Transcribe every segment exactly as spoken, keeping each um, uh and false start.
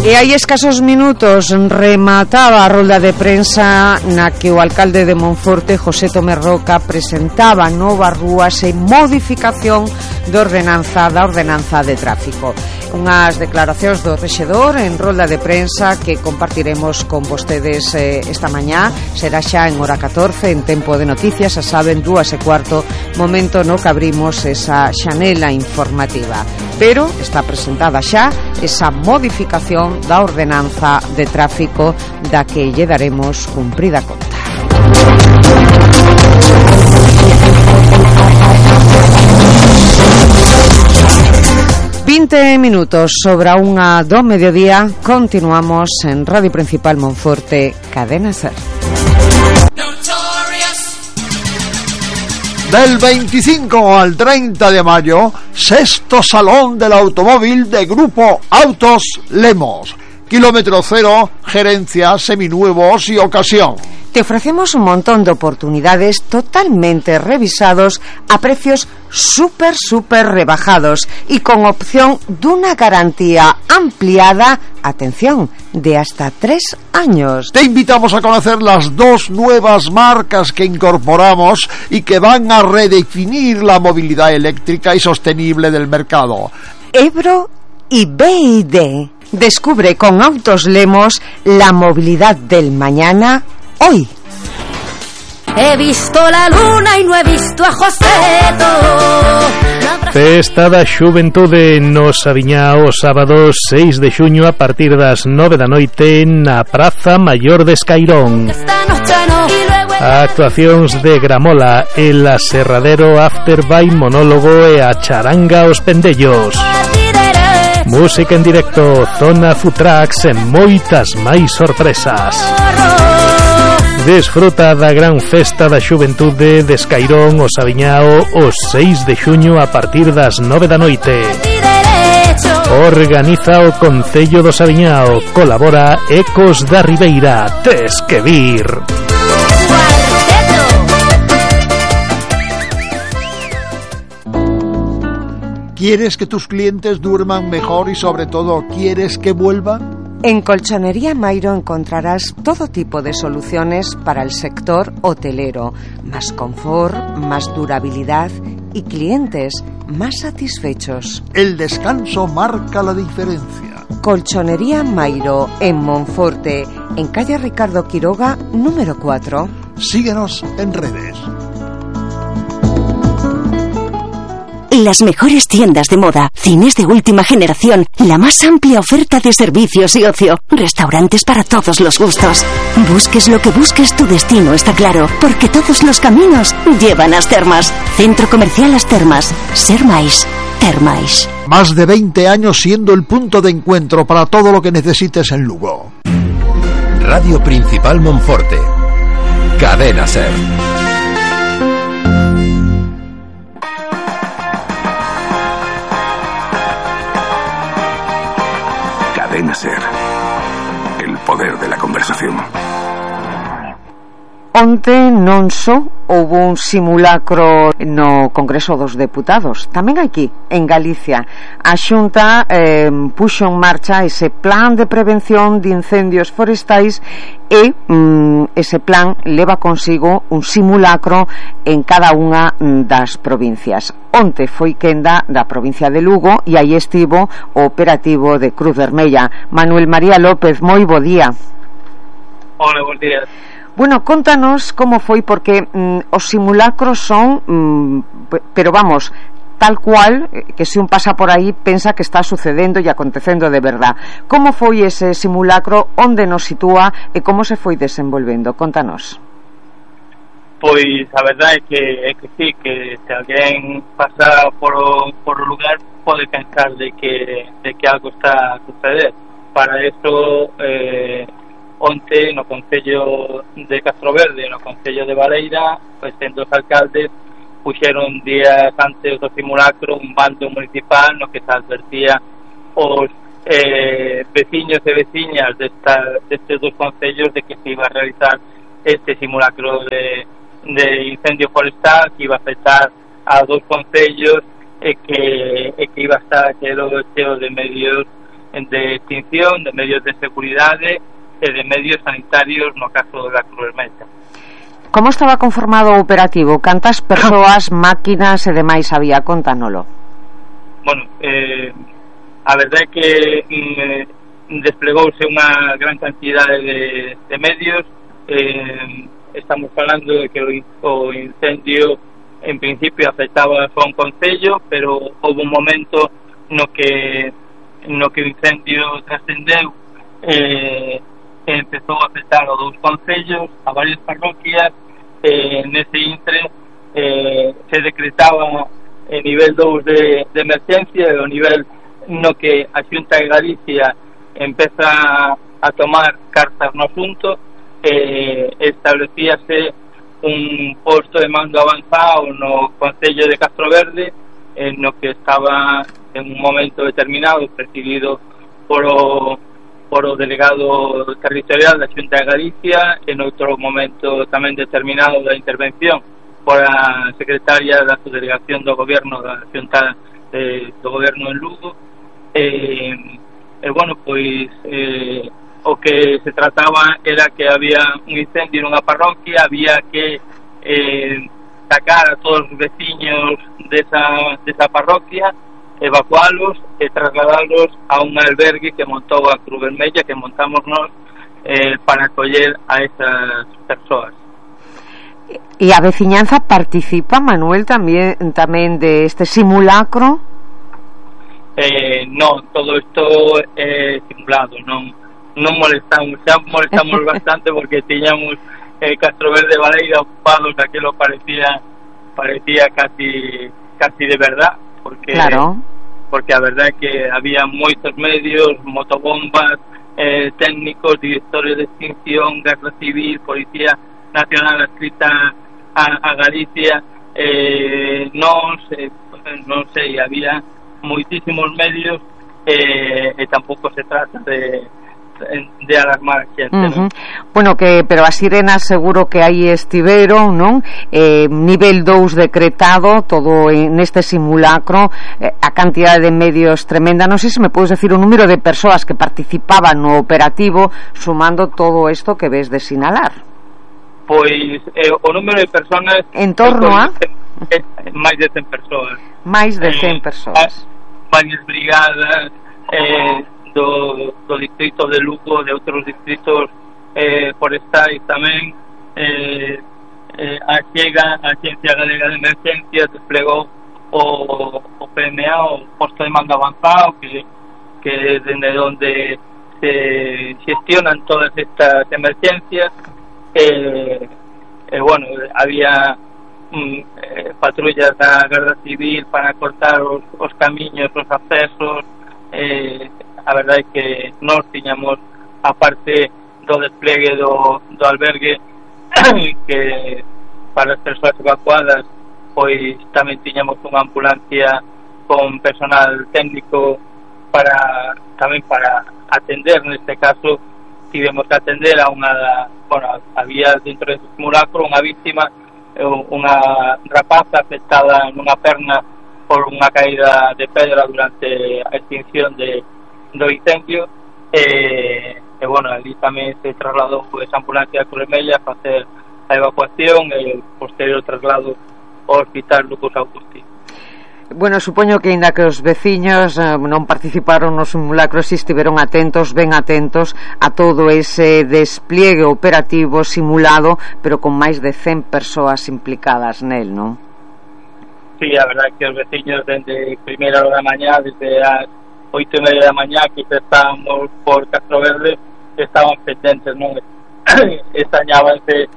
E hai escasos minutos remataba a rolda de prensa na que o alcalde de Monforte, José Tomé Roca, presentaba novas rúas e modificación de ordenanza da ordenanza de tráfico. Unhas declaracións do rexedor en rolda de prensa que compartiremos con vostedes eh, esta mañá. Será xa en hora catorce, en Tempo de Noticias, a saben, dúas e cuarto, momento no que abrimos esa xanela informativa. Pero está presentada xa esa modificación da ordenanza de tráfico da que lle daremos cumprida conta. vinte minutos sobre a unha do mediodía. Continuamos en Radio Principal Monforte, Cadena Ser. Del veinticinco al treinta de mayo, sexto Salón del Automóvil de Grupo Autos Lemos. Kilómetro cero, gerencia, seminuevos y ocasión. Te ofrecemos un montón de oportunidades totalmente revisados a precios súper, súper rebajados y con opción de una garantía ampliada, atención, de hasta tres años. Te invitamos a conocer las dos nuevas marcas que incorporamos y que van a redefinir la movilidad eléctrica y sostenible del mercado. Ebro y B Y D. Descubre con Autos Lemos la movilidad del mañana hoy. He visto la luna y no he visto a Joseto. Festa da Xuventude no Sabiñá o sábado seis de xuño a partir das nove da noite na Praza Maior de Escairón. Actuacións de Gramola, el Aserradero, After by Monólogo e a Charanga Os Pendellos. Música en directo, zona Futrax e moitas máis sorpresas. Desfruta da gran festa da Xuventude de Escairón o Sabiñao o seis de xuño a partir das nove da noite. Organiza o Concello do Sabiñao, colabora Ecos da Ribeira. Tes que vir. ¿Quieres que tus clientes duerman mejor y sobre todo quieres que vuelvan? En Colchonería Mairo encontrarás todo tipo de soluciones para el sector hotelero, más confort, más durabilidad y clientes más satisfechos. El descanso marca la diferencia. Colchonería Mairo en Monforte, en calle Ricardo Quiroga, número cuatro. Síguenos en redes. Las mejores tiendas de moda, cines de última generación, la más amplia oferta de servicios y ocio, restaurantes para todos los gustos. Busques lo que busques, tu destino está claro, porque todos los caminos llevan a As Termas. Centro Comercial As Termas. Ser máis, ter máis. Más de veinte años siendo el punto de encuentro para todo lo que necesites en Lugo. Radio Principal Monforte. Cadena Ser. Cadena Ser. El poder de la conversación. Onte non só houve un simulacro no Congreso dos Deputados, tamén aquí, en Galicia. A Xunta eh, puxo en marcha ese plan de prevención de incendios forestais e mm, ese plan leva consigo un simulacro en cada unha das provincias. Onte foi quenda da provincia de Lugo e aí estivo o operativo de Cruz Vermella. Manuel María López, moi bo día. Hola, bons días. Bueno, contanos como foi, porque mm, os simulacros son mm, pero vamos, tal cual que se un pasa por aí pensa que está sucedendo e acontecendo de verdad. Como foi ese simulacro, onde nos sitúa e como se foi desenvolvendo? Contanos. Pois a verdade é que é que sí, que se alguén pasa por o, por o lugar pode pensar de que de que algo está a suceder. Para eso eh, onte no Concello de Castroverde, no Concello de Baleira, pois en dos alcaldes puxeron días antes do simulacro un bando municipal no que se advertía os eh, veciños e veciñas desta, destes dos concellos de que se iba a realizar este simulacro de, de incendio forestal que iba a afectar a dos concellos e que, e que iba a estar cheo, cheo de medios de extinción, de medios de seguridade e de medios sanitarios no caso da Cruz Vermella. Como estaba conformado o operativo? Cantas persoas, máquinas e demais había? Contanolo. Bueno, eh, a verdade é que mm, desplegouse unha gran cantidade de, de medios. Eh, estamos falando de que o, o incendio en principio afectaba só un concello, pero houve un momento no que no que o incendio trascendeu eh, e empezou a afectar os dous concellos, a varias parroquias. Eh, nese intre eh, se decretaba el nivel dous de, de emergencia, e o nivel no que a Xunta de Galicia empeza a tomar cartas no asunto. Eh, establecíase un posto de mando avanzado no Concello de Castroverde, en no que estaba en un momento determinado presidido por o, por o delegado territorial da Xunta de Galicia, en outro momento tamén determinado da intervención por a secretaria da subdelegación do goberno da Xunta eh, do goberno en Lugo. E, eh, bueno, pois eh, o que se trataba era que había un incendio nunha parroquia, había que eh, sacar a todos os veciños desa, desa parroquia, evacualos e trasladarlos a un albergue que montou a Cruz Vermella, que montamos nós eh, para acoller a esas persoas. E a veciñanza participa, Manuel, tamén tamén de este simulacro? Eh, non, todo isto é simulado, non non molestamos, xa molestamos bastante porque tiñamos eh, Castroverde Baleira ocupado, que aquilo parecía parecía casi casi de verdad, porque claro. porque a verdade é que había moitos medios, motobombas, eh, técnicos, directores de extinción, Garda Civil, Policía Nacional adscrita a, a Galicia, eh, non sei, non sei, había moitísimos medios, eh, e tampouco se trata de de alarmar a xente, uh-huh. non? Bueno, que pero as sirenas seguro que aí estiveron, non? Eh, nivel dous decretado, todo neste simulacro, eh, a cantidade de medios tremenda. Non sei se me podes decir o número de persoas que participaban no operativo, sumando todo isto que ves de sinalar. Pois eh, o número de personas en torno a é máis de cen persoas. Máis de cen persoas. Varias brigadas eh Do, do distrito de Lugo, de outros distritos eh, forestais tamén. eh, eh, a chega a Axencia Galega de Emergencia desplegou o, o P M A, o posto de mando avanzado, que, que é dende onde se gestionan todas estas emergencias. eh, eh, bueno, había mm, eh, patrullas da Garda Civil para cortar os, os camiños, os accesos. eh, A verdade é que nós tiñamos, a parte do desplegue do, do albergue, que para as persoas evacuadas, pois tamén tiñamos unha ambulancia con personal técnico para tamén para atender. Neste caso tivemos que atender a unha, bueno, había dentro desse simulacro unha víctima, unha rapaza afectada nunha perna por unha caída de pedra durante a extinción de do incendio, e, e bueno, ali tamén se trasladou esa ambulancia a Cruz Vermella para facer a evacuación e o posterior traslado ao hospital Lucas Augusti. Bueno, supoño que ainda que os veciños eh, non participaron no simulacro, si estiveron atentos, ben atentos a todo ese despliegue operativo simulado, pero con máis de cen persoas implicadas nel, non? Sí, a verdade que os veciños dende primeira hora da mañá, desde as oito e media da mañá, que estábamos por Castroverde, estaban pendentes, non? Extrañábanse,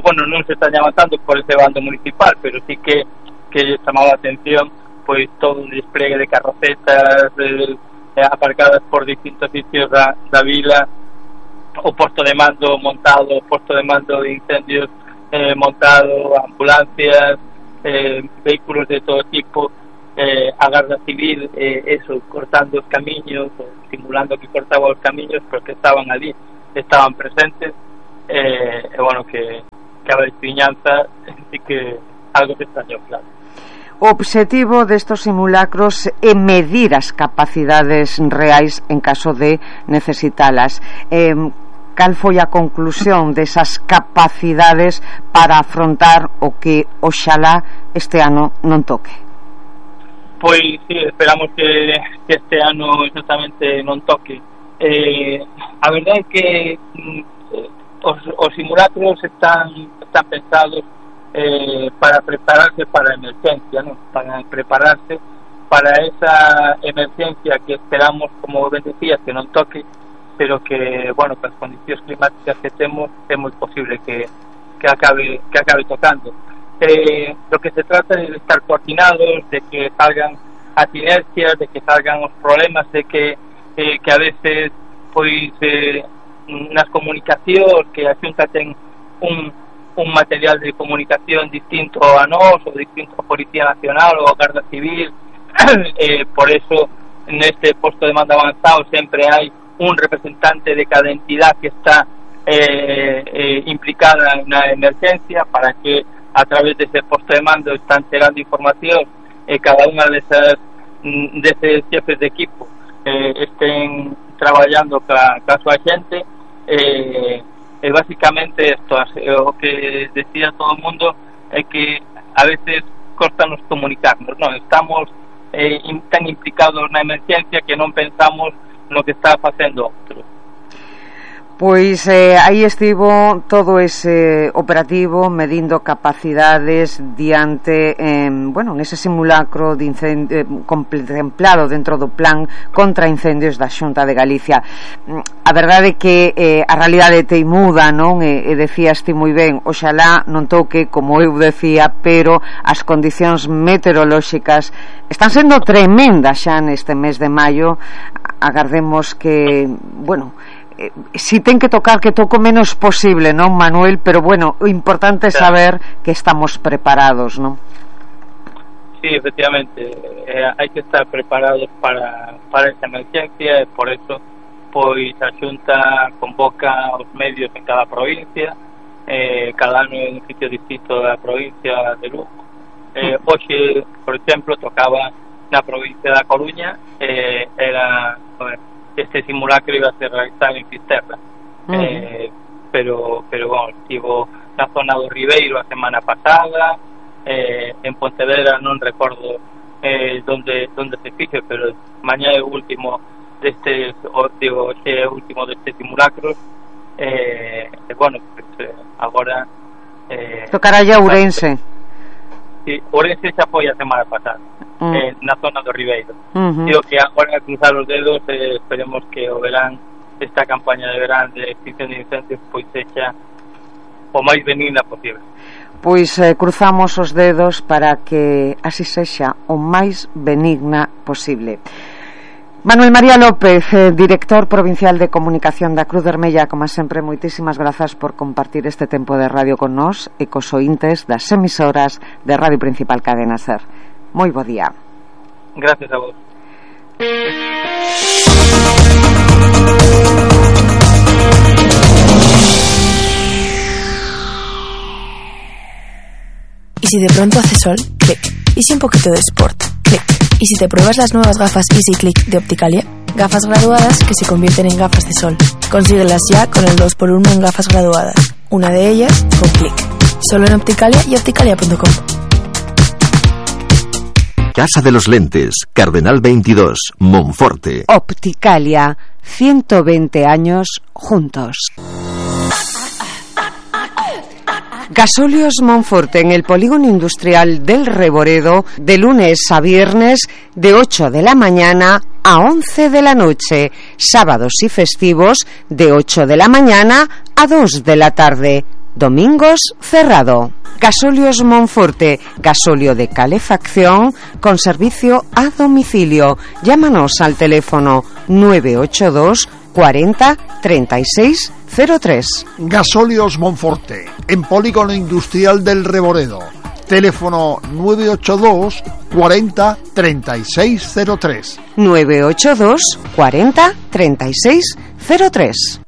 bueno, non se extrañaban tanto por ese bando municipal, pero sí que que chamaba a atención pois todo un despliegue de carrocetas de, de, aparcadas por distintos sitios da, da vila, o posto de mando montado, o posto de mando de incendios eh, montado, ambulancias, eh, vehículos de todo tipo, eh, a Garda Civil, eh, eso, cortando os camiños, o simulando que cortaba os camiños, porque estaban ali, estaban presentes, eh, e bueno, que, que a veciñanza sí que algo se extrañou, claro. O obxectivo destos simulacros é medir as capacidades reais en caso de necesitalas. Eh, cal foi a conclusión desas capacidades para afrontar o que oxalá este ano non toque? Pois sí, esperamos que, que este ano exactamente non toque. Eh, a verdade é que mm, os, os simulacros están, están pensados Eh, para prepararse para a emergencia, ¿no? Para prepararse para esa emergencia que esperamos, como ben decías, que non toque, pero que, bueno, con as condicións climáticas que temos é moi posible que, que acabe que acabe tocando. Eh, lo que se trata é de estar coordinados, de que salgan as inercias, de que salgan os problemas, de que eh, que a veces pois eh, nas comunicacións que a Xunta ten un un material de comunicación distinto a nós, ou distinto a Policía Nacional ou a Garda Civil. eh, por eso neste posto de mando avanzado sempre hai un representante de cada entidad que está eh, eh, implicada na emergencia, para que a través dese posto de mando están chegando información e eh, cada unha desas deses jefes de equipo eh, estén traballando ca, ca súa xente. eh, E basicamente isto, o que decía todo o mundo é que a veces costanos comunicarnos, non? Estamos eh, tan implicados na emergencia que non pensamos no que está facendo outro. Pois eh, aí estivo todo ese operativo medindo capacidades diante, eh, bueno, nese simulacro de incendio, eh, contemplado dentro do plan contra incendios da Xunta de Galicia. A verdade é que eh, a realidade teimuda, non? E, e decías ti moi ben, oxalá non toque, como eu decía, pero as condicións meteorolóxicas están sendo tremendas xa neste mes de maio. Agardemos que, bueno, Eh, si ten que tocar, que toco menos posible, non, Manuel? Pero bueno, o importante é saber que estamos preparados, non? Sí, efectivamente, eh, hai que estar preparados para, para esa emergencia, e por eso pois a Xunta convoca os medios en cada provincia, eh, cada ano en un sitio distinto da provincia de Lugo. Eh, hoxe, por exemplo, tocaba na provincia da Coruña, eh, era... Bueno, este simulacro iba a ser realizado en Fisterra, uh-huh. eh, pero pero bueno, estivo na zona do Ribeiro a semana pasada, eh, en Pontevedra non recordo eh, donde donde se fixe, pero mañá é o último deste, o, digo, é o último deste simulacros, eh, e bueno, pues, eh, agora eh, tocará ya Ourense. Sí, Ourense xa foi a semana pasada, mm. eh, na zona do Ribeiro. Uh-huh. Digo que agora, a cruzar os dedos, eh, esperemos que o verán, esta campaña de verán de extinción de incendios, pois sexa o máis benigna posible. Pois eh, cruzamos os dedos para que así sexa o máis benigna posible. Manuel María López, eh, director provincial de comunicación da Cruz Vermella, como sempre, moitísimas grazas por compartir este tempo de radio con nós e cos ointes das emisoras de Radio Principal Cadena Ser. Moi bo día. Gracias a vos. ¿Y si de pronto hace sol? Clic. ¿Y si un poquito de sport? Clic. ¿Y si te pruebas las nuevas gafas Easy Click de Opticalia? Gafas graduadas que se convierten en gafas de sol. Consíguelas ya con el dos por uno en gafas graduadas. Una de ellas con Clic. Solo en Opticalia y opticalia punto com. Casa de los Lentes, Cardenal veintidós, Monforte. Opticalia, ciento veinte años juntos. Gasóleos Monforte, en el polígono industrial del Reboredo, de lunes a viernes, de ocho de la mañana a once de la noche, sábados y festivos, de ocho de la mañana a dos de la tarde, domingos cerrado. Gasóleos Monforte, gasóleo de calefacción con servicio a domicilio. Llámanos al teléfono nueve ocho dos cuarenta treinta y seis cero tres. Gasóleos Monforte, en polígono industrial del Reboredo. Teléfono nueve ocho dos cuarenta treinta y seis cero tres. nueve ocho dos cuarenta treinta y seis cero tres.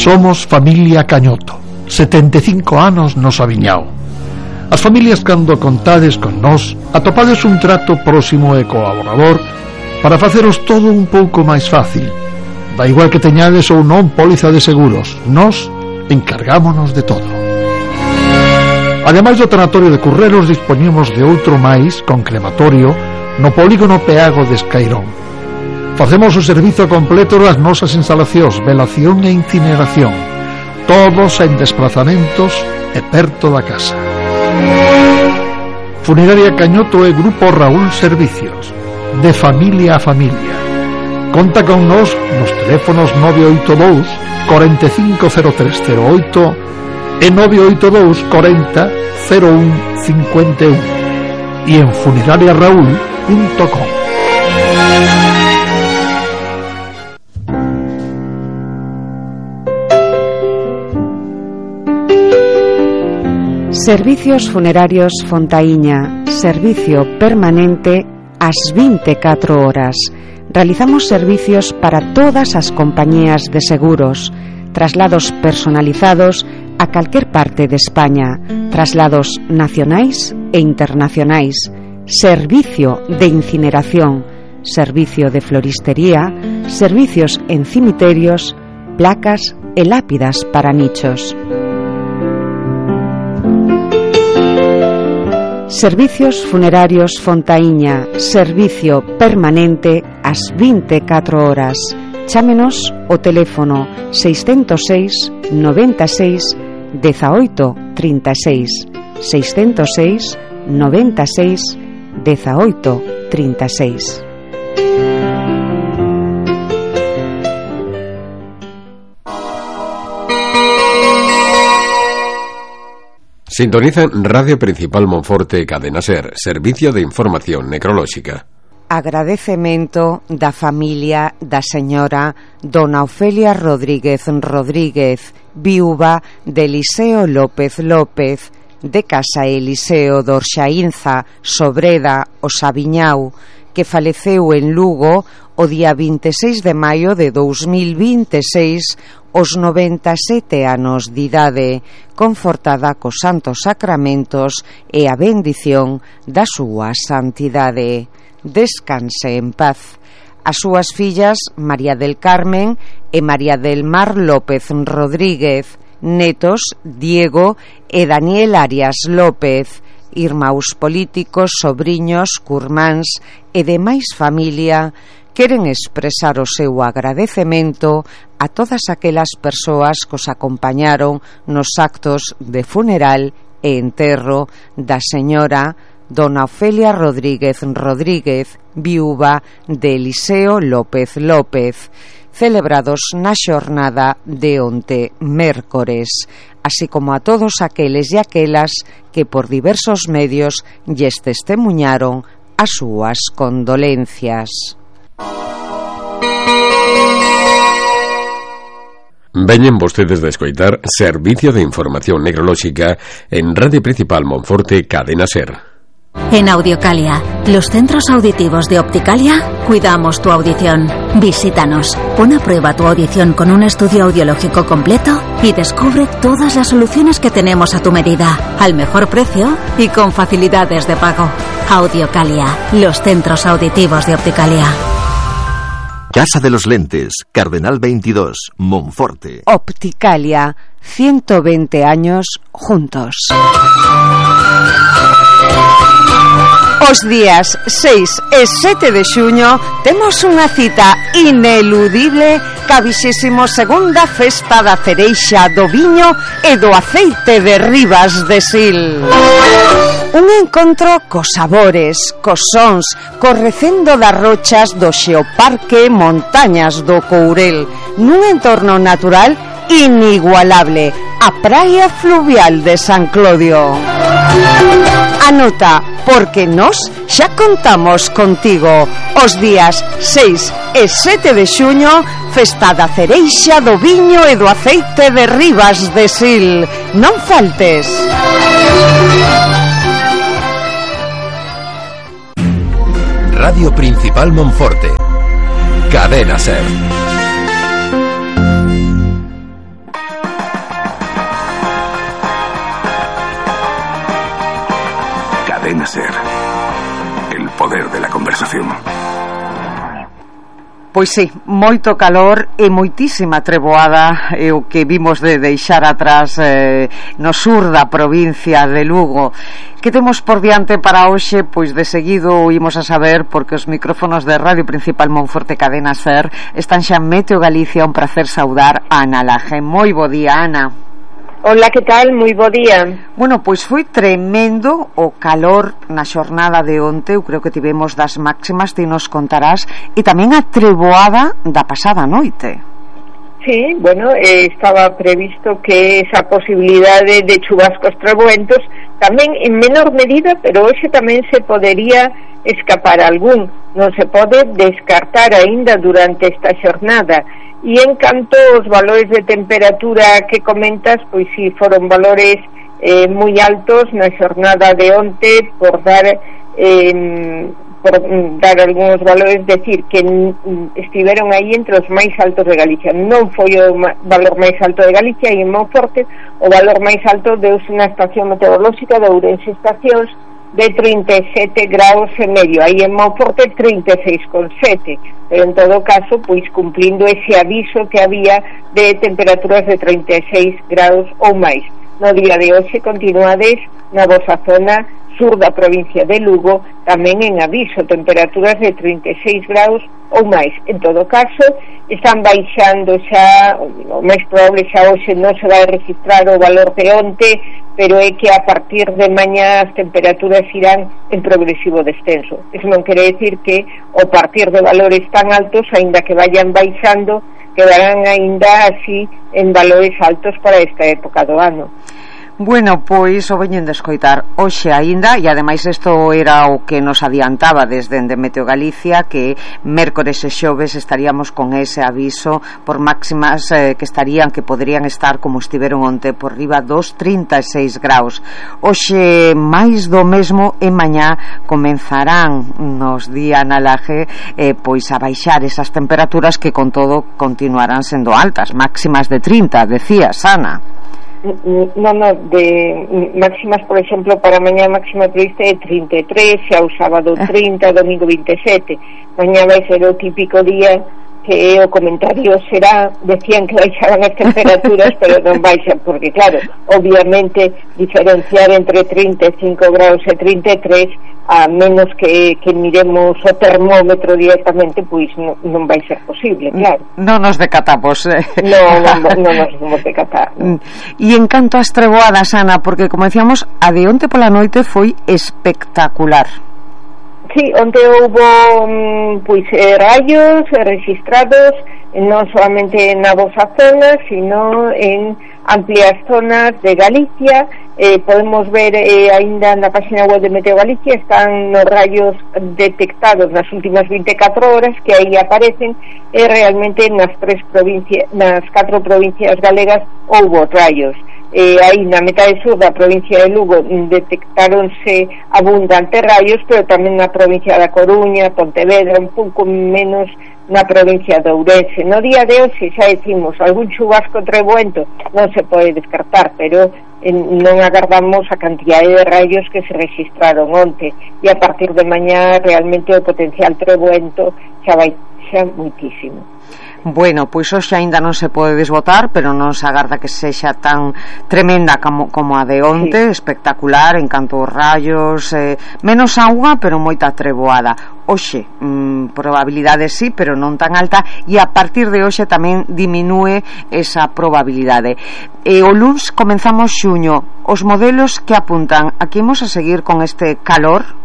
Somos familia Cañoto, setenta e cinco anos nos aviñao. As familias cando contades con nós atopades un trato próximo e colaborador para faceros todo un pouco máis fácil. Da igual que teñades ou non póliza de seguros, nós encargámonos de todo. Ademais do tanatorio de Curreros, dispoñemos de outro máis con crematorio no polígono Peago de Escairón. Facemos o servizo completo das nosas instalacións, velación e incineración, todos en desplazamentos e perto da casa. Funeraria Cañoto e Grupo Raúl Servicios, de familia a familia. Conta con nos nos teléfonos nove oito dous, cuarenta e cinco cero tres cero oito e nove oito dous, cuarenta, cero un cincuenta e un e en funeraria raúl punto com. Servicios Funerarios Fontaíña, servicio permanente ás vinte e catro horas. Realizamos servicios para todas as compañías de seguros, traslados personalizados a calquer parte de España, traslados nacionais e internacionais, servicio de incineración, servicio de floristería, servicios en cimiterios, placas e lápidas para nichos. Servicios Funerarios Fontaíña, servicio permanente ás vinte e catro horas. Chámenos o teléfono seiscentos seis, noventa e seis, dezaoito, trinta e seis, seiscentos seis, noventa e seis, dezaoito, trinta e seis. Sintonizan Radio Principal Monforte e Cadena Ser, servicio de información necrolóxica. Agradecemento da familia da señora Dona Ofelia Rodríguez Rodríguez, viúva de Eliseo López López, de Casa Eliseo d'Orxaínza, Sobreda, o Sabiñao, que faleceu en Lugo o día vinte e seis de maio de dous mil vinte e seis, os noventa e sete anos de idade, confortada cos santos sacramentos e a bendición da súa santidade. Descanse en paz. As súas fillas María del Carmen e María del Mar López Rodríguez, netos Diego e Daniel Arias López, irmáns políticos, sobriños, curmáns e demais familia, queren expresar o seu agradecemento a todas aquelas persoas que os acompañaron nos actos de funeral e enterro da señora Dona Ofelia Rodríguez Rodríguez, viúva de Eliseo López López, celebrados na xornada de onte mércores, así como a todos aqueles e aquelas que por diversos medios lles testemuñaron as súas condolencias. Veñen vostedes de escoitar Servicio de Información Necrolóxica en Radio Principal Monforte Cadena Ser. En Audiocalia, los centros auditivos de Opticalia, cuidamos tu audición. Visítanos, pon a prueba tu audición con un estudio audiológico completo y descubre todas las soluciones que tenemos a tu medida, al mejor precio y con facilidades de pago. Audiocalia, los centros auditivos de Opticalia. Casa de los Lentes, Cardenal veintidós, Monforte. Opticalia, ciento veinte años juntos. Os días seis e sete de xuño temos unha cita ineludible ca vixésimo segunda Festa da Cereixa, do Viño e do Aceite de Ribas de Sil. Un encontro cos sabores, cos sons, cos recendo das rochas do Xeoparque Montañas do Courel, nun entorno natural inigualable, a praia fluvial de San Clodio. Anota, porque nós xa contamos contigo. Os días seis e sete de xuño, Festa da Cereixa, do Viño e do Aceite de Ribas de Sil. Non faltes. Radio Principal Monforte, Cadena Ser. Cadena Ser. El poder de la conversación. Pois sí, moito calor e moitísima treboada é o que vimos de deixar atrás eh, no sur da provincia de Lugo. Que temos por diante para hoxe? Pois de seguido imos a saber, porque os micrófonos de Radio Principal Monforte Cadena Ser están xa en Meteo Galicia. Un prazer saudar a Ana Laje. Moi bo día, Ana. Hola, que tal? Moi bo día. Bueno, pois foi tremendo o calor na xornada de onte. Eu creo que tivemos das máximas, ti nos contarás, e tamén a treboada da pasada noite. Sí, bueno, eh, estaba previsto que esa posibilidade de chubascos treboentos tamén en menor medida, pero hoxe tamén se podería escapar algún. Non se pode descartar aínda durante esta xornada. E en canto os valores de temperatura que comentas, pois si foron valores eh, moi altos na xornada de onte, por dar eh, por dar algúns valores, decir que estiveron aí entre os máis altos de Galicia. Non foi o valor máis alto de Galicia, e en Monforte o valor máis alto deuse na estación meteorolóxica de Ourense Estacións, de trinta e sete graus e medio, aí en Monforte trinta e seis coma sete, pero en todo caso pois cumplindo ese aviso que había de temperaturas de trinta e seis graus ou máis. No día de hoxe continuades na vosa zona sur da provincia de Lugo tamén en aviso, temperaturas de trinta e seis graus ou máis. En todo caso están baixando xa, o máis probable xa hoxe non se vai registrar o valor de onte, pero é que a partir de mañá as temperaturas irán en progresivo descenso. Eso non quere decir que ao partir de valores tan altos, aínda que vayan baixando, quedarán aínda así en valores altos para esta época do ano. Bueno, pois o veñen de escoitar hoxe aínda, e ademais isto era o que nos adiantaba desde Meteo Galicia, que mércores e xoves estaríamos con ese aviso por máximas eh, que estarían, que poderían estar como estiveron onte, por riba dos trinta e seis graus. Hoxe máis do mesmo, e mañá comenzarán, nos di Ana Laje, eh, pois a baixar esas temperaturas que con todo continuarán sendo altas, máximas de trinta, decías, Ana. No, no, de máximas, por exemplo, para mañá máxima prevista é trinta e tres, xa o sábado trinta, domingo vinte e sete. Mañá vai ser o típico día que o comentario será, decían que baixaban as temperaturas, pero non baixan, porque claro, obviamente diferenciar entre trinta e cinco graus e trinta e tres, a menos que, que miremos o termómetro directamente, pois non, non vai ser posible, claro. Non nos decatamos. Eh. Non, non, non nos vamos decatar. No. E en canto ás treboadas, Ana, porque como decíamos, a de onte pola noite foi espectacular. Sí, onde houve pois eh, rayos registrados non solamente na vosa zona, sino en amplias zonas de Galicia. Eh, podemos ver eh, aínda na página web de Meteo Galicia, están nos rayos detectados nas últimas vinte e catro horas, que aí aparecen, e eh, realmente nas tres provincias, nas catro provincias galegas houbo rayos. Eh, aí na metade sur da provincia de Lugo detectáronse abundantes rayos, pero tamén na provincia da Coruña, Pontevedra, un pouco menos na provincia de Ourense. No día de hoxe xa decimos, algún chubasco treboento non se pode descartar, pero en, non agardamos a cantidade de rayos que se registraron onte, e a partir de mañá realmente o potencial treboento xa vai xa muitísimo. Bueno, pois hoxe aínda non se pode desbotar, pero non se agarda que sexa tan tremenda como, como a de onte, sí. Espectacular en canto aos rayos, eh, menos auga, pero moita treboada. Hoxe, mm, probabilidade sí, pero non tan alta, e a partir de hoxe tamén diminúe esa probabilidade. E o luns comenzamos xuño. Os modelos que apuntan, aquí imos a seguir con este calor?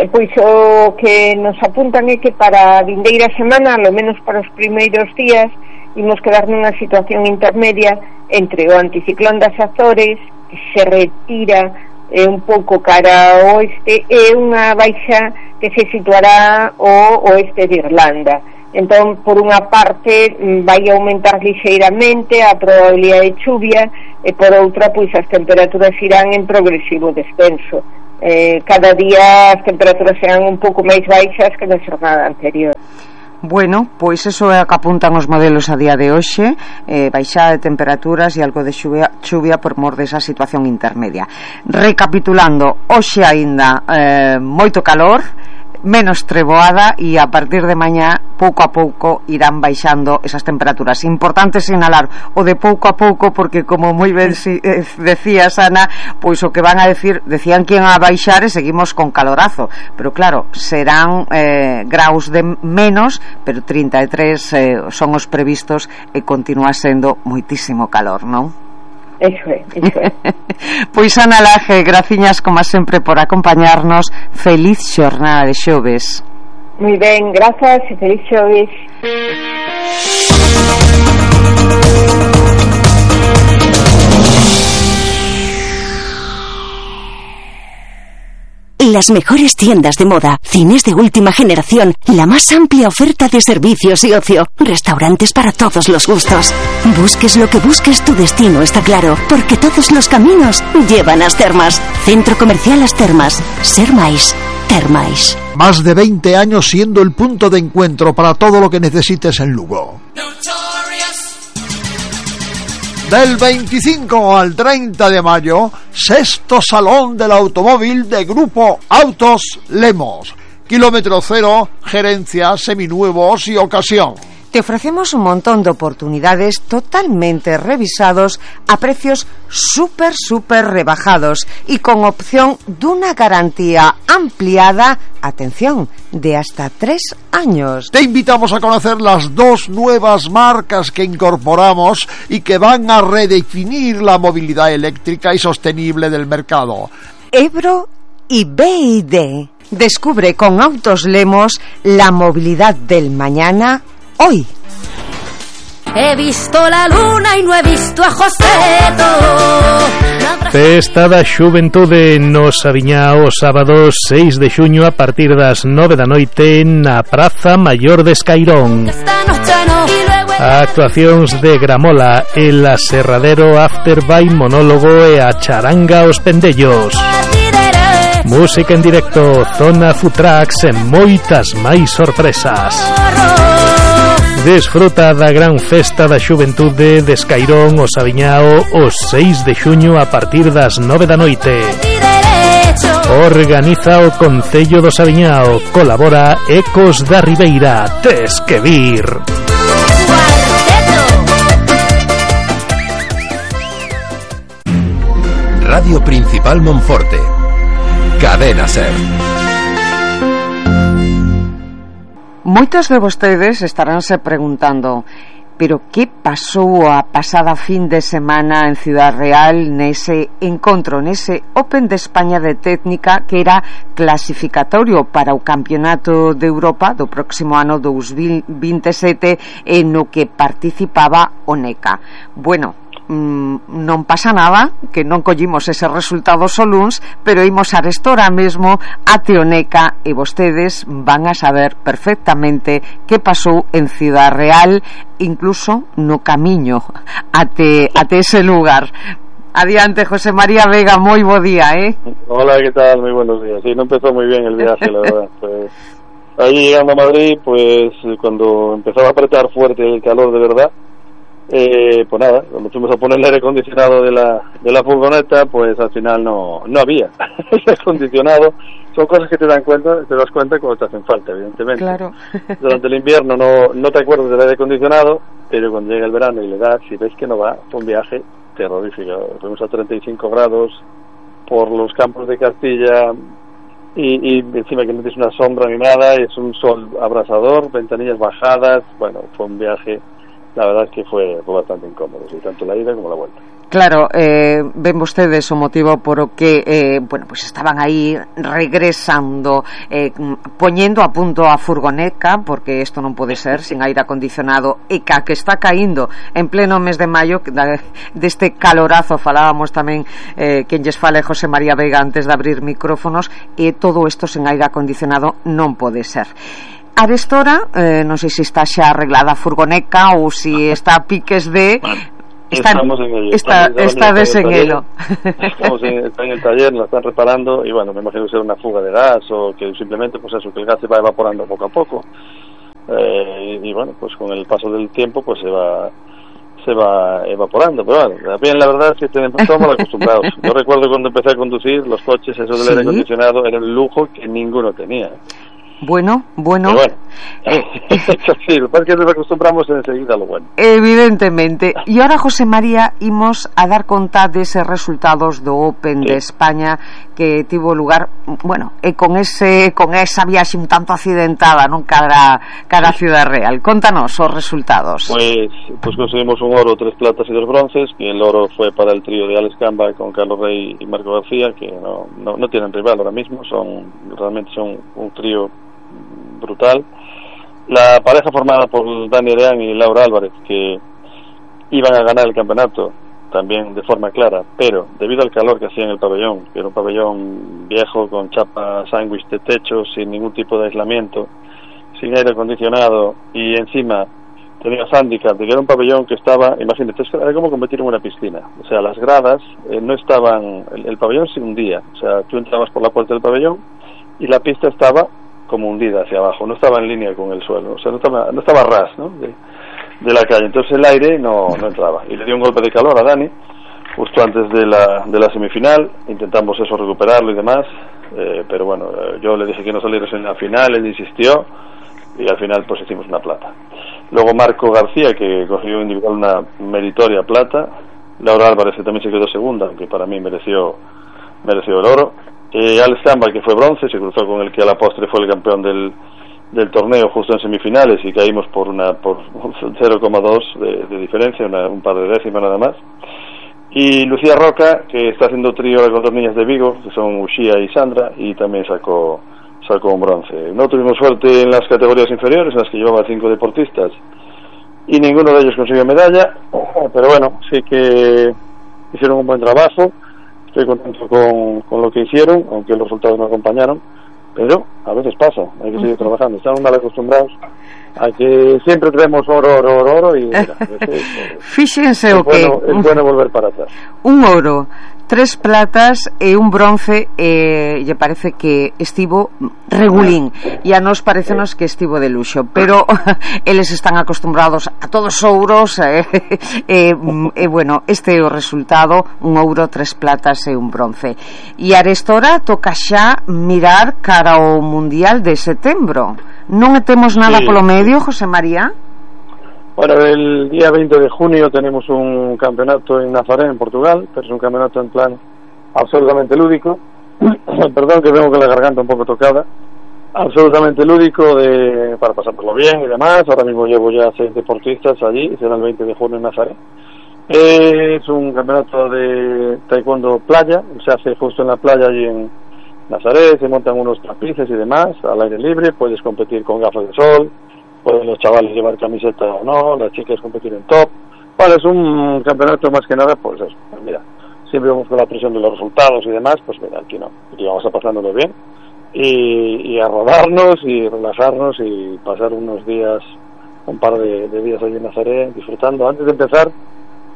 Pois o que nos apuntan é que para a vindeira semana, ao menos para os primeiros días, imos quedar nunha situación intermedia entre o anticiclón das Azores, que se retira eh, un pouco cara ao oeste, e unha baixa que se situará ao oeste de Irlanda. Entón, por unha parte, vai aumentar lixeiramente a probabilidade de chuvia, e por outra, pois as temperaturas irán en progresivo descenso. Eh, cada día as temperaturas serán un pouco máis baixas que na xornada anterior. Bueno, pois eso é o que apuntan os modelos a día de hoxe, eh, baixada de temperaturas e algo de xuvia, xuvia por mor desa situación intermedia. Recapitulando, hoxe aínda eh, moito calor, menos treboada, e a partir de mañá pouco a pouco irán baixando esas temperaturas. Importante sinalar o de pouco a pouco, porque como moi ben si, eh, decías, Ana, pois o que van a decir, decían que iban a baixar e seguimos con calorazo, pero claro, serán eh, graus de menos, pero trinta e tres eh, son os previstos e continúa sendo moitísimo calor, non? Eso é, eso é. Pois Ana Laje, graciñas como sempre por acompañarnos. Feliz xornada de xoves. Moi ben, grazas e feliz xoves. Las mejores tiendas de moda, cines de última generación, la más amplia oferta de servicios y ocio, restaurantes para todos los gustos. Busques lo que busques, tu destino está claro, porque todos los caminos llevan a As Termas. Centro Comercial As Termas. Ser máis, ter máis. Más de veinte años siendo el punto de encuentro para todo lo que necesites en Lugo. Del veinticinco al treinta de mayo, sexto Salón del Automóvil de Grupo Autos Lemos. Kilómetro cero, gerencia, seminuevos y ocasión. Te ofrecemos un montón de oportunidades totalmente revisados a precios súper, súper rebajados y con opción de una garantía ampliada, atención, de hasta tres años. Te invitamos a conocer las dos nuevas marcas que incorporamos y que van a redefinir la movilidad eléctrica y sostenible del mercado. Ebro y B y D. Descubre con Autos Lemos la movilidad del mañana hoy. He visto la luna y no he visto a Joseto. Festa da Xuventude no Saviñao, sábado seis de xuño a partir das nove da noite na Praza Maior de Escairón. Actuacións de Gramola, el Aserradero After by Monólogo e a Charanga Os Pendellos. Música en directo, zona food trucks e moitas máis sorpresas. Desfruta da gran festa da Xuventude de Escairón o Saviñao o seis de xuño a partir das nove da noite. Organiza o Concello do Saviñao. Colabora Ecos da Ribeira. Tes que vir. Radio Principal Monforte. Cadena Ser. Moitos de vostedes estaránse preguntando, pero que pasou a pasada fin de semana en Ciudad Real nese encontro, nese Open de España de Técnica que era clasificatorio para o Campeonato de Europa do próximo ano dous mil veintisiete e no que participaba o NECA. Bueno, non pasa nada, que non collimos ese resultado só luns, pero imos a restora mesmo a Teoneca e vostedes van a saber perfectamente que pasou en Ciudad Real, incluso no camiño até, até ese lugar. Adiante, José María Vega, moi bo día, eh? Hola, ¿qué tal? Muy buenos días. Sí, no empezó muy bien el viaje, la verdad. Pues, ahí llegando a Madrid, pues cuando empezaba a apretar fuerte el calor de verdad, Eh, pues nada, cuando fuimos a poner el aire acondicionado de la de la furgoneta, pues al final no no había aire acondicionado. Son cosas que te dan cuenta, te das cuenta cuando te hacen falta, evidentemente. Claro. Durante el invierno no no te acuerdas del aire acondicionado, pero cuando llega el verano y le das, si ves que no va, fue un viaje terrorífico. Fuimos a treinta y cinco grados por los campos de Castilla y, y encima que no tienes una sombra ni nada, es un sol abrasador, ventanillas bajadas. Bueno, fue un viaje, la verdad es que fue, fue bastante incómodo, sí, tanto la ida como la vuelta. Claro, eh, ven vostedes o motivo por o que eh, bueno, pues estaban aí regresando, eh, poñendo a punto a furgoneca, porque isto non pode ser sin aire acondicionado, e ca que está caíndo en pleno mes de maio deste calorazo. Falábamos tamén eh, quen lles fale José María Vega antes de abrir micrófonos, e todo isto sin aire acondicionado non pode ser. Arestora, eh, non sei se está xa arreglada a furgoneca ou se está a piques de... Está, estamos en ello. Está, está de en ello. Estamos en, está en el taller, lo están reparando y bueno, me imagino que será una fuga de gas o que simplemente pues eso, que el gas se va evaporando poco a poco. eh, y, y bueno, pues con el paso del tiempo pues se va se va evaporando, pero bueno, también la verdad es que tenemos, estamos mal acostumbrados. Yo recuerdo cuando empecé a conducir, los coches, eso del ¿Sí? aire acondicionado era un lujo que ninguno tenía. Bueno, bueno. Pero bueno. Sí, lo que pasa es que nos acostumbramos enseguida a lo bueno. Evidentemente. E ahora, José María, imos a dar conta deses resultados do Open sí. de España que tivo lugar, bueno, e con ese con esa viaxe un tanto accidentada, non, cara cara a Ciudad Real. Contanos os resultados. Pues pues conseguimos un oro, tres platas y dos bronces, que el oro fue para el trío de Alex Camba con Carlos Rey y Marco García, que no no, no tienen rival ahora mismo, son realmente son un trío brutal. La pareja formada por Dani Areán y Laura Álvarez, que iban a ganar el campeonato también de forma clara, pero debido al calor que hacía en el pabellón, que era un pabellón viejo con chapa sándwich de techo, sin ningún tipo de aislamiento, sin aire acondicionado, y encima tenía handicap de que era un pabellón que estaba, imagínate, era como competir en una piscina, o sea, las gradas eh, no estaban, el, el pabellón se hundía, o sea, tú entrabas por la puerta del pabellón y la pista estaba como hundida hacia abajo, no estaba en línea con el suelo, o sea, no estaba, no estaba ras, ¿no? De, de la calle, entonces el aire no, no entraba, y le dio un golpe de calor a Dani justo antes de la, de la semifinal. Intentamos eso, recuperarlo y demás, eh, pero bueno, yo le dije que no saliera en la final, él insistió, y al final pues hicimos una plata. Luego Marco García, que consiguió individual una meritoria plata, Laura Álvarez, que también se quedó segunda, aunque para mí mereció mereció el oro. Eh, Alex Camba, que fue bronce, se cruzó con el que a la postre fue el campeón del, del torneo justo en semifinales, y caímos por una por cero coma dos de, de diferencia, una, un par de décimas nada más. Y Lucía Roca, que está haciendo trío con dos niñas de Vigo, que son Uxía y Sandra, y también sacó sacó un bronce. No tuvimos suerte en las categorías inferiores, en las que llevaba cinco deportistas, y ninguno de ellos consiguió medalla, pero bueno, sí que hicieron un buen trabajo. Estoy contento con, con lo que hicieron, aunque los resultados no acompañaron, pero a veces pasa, hay que seguir trabajando. Estamos mal acostumbrados a que siempre tenemos oro, oro, oro, oro, y mira, es, fíxense o que bueno, es bueno volver para atrás. Un oro, tres platas e un bronce, eh, lle parece que estivo regulín, e a nos parecenos que estivo de luxo, pero eles están acostumbrados a todos os ouros, e eh, eh, eh, bueno, este é o resultado, un ouro, tres platas e un bronce. E arestora toca xa mirar cara ao Mundial de setembro. Non temos nada sí. polo medio, José María? Bueno, el día veinte de junio tenemos un campeonato en Nazaré, en Portugal, pero es un campeonato en plan absolutamente lúdico. Perdón que vengo con la garganta un poco tocada. Absolutamente lúdico, de para pasárnoslo bien y demás. Ahora mismo llevo ya seis deportistas allí, será el veinte de junio en Nazaré. Eh, es un campeonato de taekwondo playa, se hace justo en la playa allí en Nazaré, se montan unos tapices y demás, al aire libre, puedes competir con gafas de sol, pueden los chavales llevar camiseta o no, las chicas competir en top. Bueno, es un campeonato más que nada, pues eso, pues mira, siempre vamos con la presión de los resultados y demás, pues mira, aquí no, aquí vamos a pasándolo bien y, y a rodarnos y relajarnos y pasar unos días, un par de, de días allí en Nazaré disfrutando, antes de empezar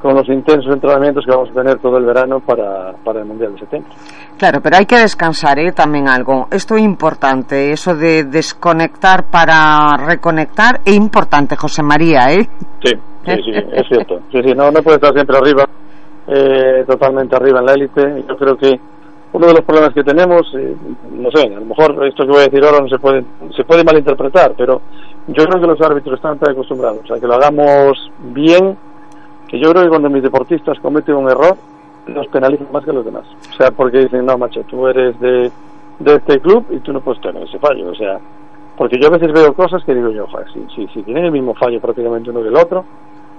con los intensos entrenamientos que vamos a tener todo el verano para, para el Mundial de septiembre. Claro, pero hai que descansar, ¿eh? Tamén algo. Isto é importante, eso de desconectar para reconectar é importante, José María, ¿eh? Sí, sí, sí, es cierto. Sí, sí, no, no puede estar siempre arriba, eh, totalmente arriba en la élite. Yo creo que uno de los problemas que tenemos, eh, no sé, a lo mejor esto que voy a decir ahora no se puede, se puede malinterpretar, pero yo creo que los árbitros están tan acostumbrados a que lo hagamos bien, que yo creo que cuando mis deportistas cometen un error los penalizan más que los demás, o sea, porque dicen, no macho, tú eres de, de este club y tú no puedes tener ese fallo, o sea, porque yo a veces veo cosas que digo yo, joder, si, si, si tienen el mismo fallo prácticamente uno que el otro,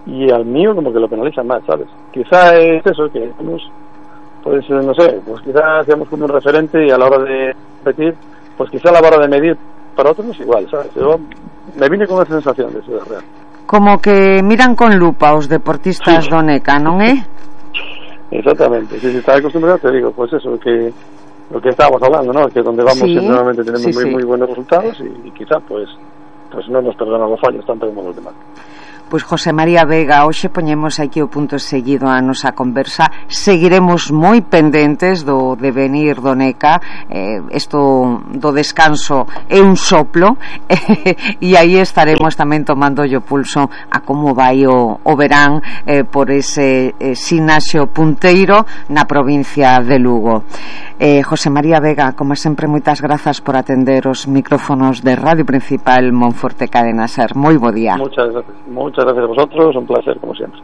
y al mío como que lo penalizan más, ¿sabes? Quizá es eso, que hemos, pues no sé, pues quizá seamos como un referente y a la hora de competir, pues quizá a la hora de medir para otros no es igual, ¿sabes? Yo me vine con esa sensación de Ciudad Real. Como que miran con lupa os deportistas sí. do NECA, non é? Exactamente, si, si estás acostumbrado te digo, pues eso, que lo que estábamos hablando, ¿no? Que donde vamos sí, siempre normalmente tenemos sí, muy, sí. muy buenos resultados y, y quizá pues pues no nos perdonan los fallos tanto como los demás. Pois José María Vega, hoxe poñemos aquí o punto seguido a nosa conversa. Seguiremos moi pendentes do devenir do NECA. eh, Isto do descanso é un soplo e aí estaremos tamén tomando o pulso a como vai o, o verán eh, por ese eh, Sinaxio Punteiro na provincia de Lugo. eh, José María Vega, como sempre, moitas grazas por atender os micrófonos de Radio Principal Monforte Cadena Ser. Moi bo día. Muchas gracias, muchas gracias a vosotros, un placer como siempre.